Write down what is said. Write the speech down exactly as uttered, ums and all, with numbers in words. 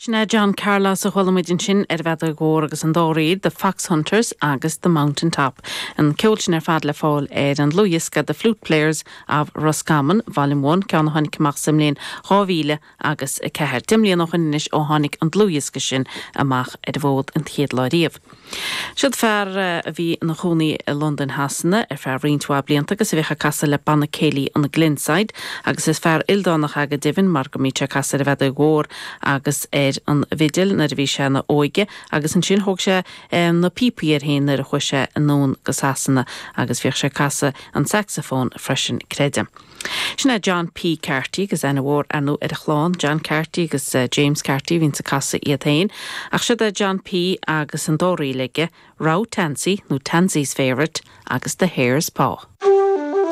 Sin é John Carlos a chuala muid ansin ar an bhfeadóg mhór agus an dá ríl, The Fox Hunters agus The Mountain Top. An ceol sin ar fad le fáil ar an dlúthdhiosca The Flute Players of Roscommon, Volume One, ceann a tháinig amach sa mbliain dhá mhíle agus a ceathair. Deich mbliana ó shin anois ó tháinig an dlúthdhiosca sin amach ar an bhfód an chéad lá riamh. Siod fear a bhí ina chónaí i Londain Shasana ar feadh roinnt mhaith blianta agus a bhíodh ag casadh le banna céilí an Glenside agus is fear ildánach é go deimhin mar go mbíodh sé ag casadh ar an bhfeadóg mhór agus ar an bhfidil nuair a bhí sé ina óige agus ansin thóg sé na píopaí air féin nuair a chuaigh sé anonn go Sasana agus bhíodh sé ag casadh an saxophone freisin creidim. Sin é John P. Carty agus aithne mhór ar ndóigh ar a chlann John Carty agus James Carty a bhíonns ag casadh iad féin, ach siod é John P. agus an dá ríl aige, Row Tansy nó Tansy's Favourite agus The Hare's Paw.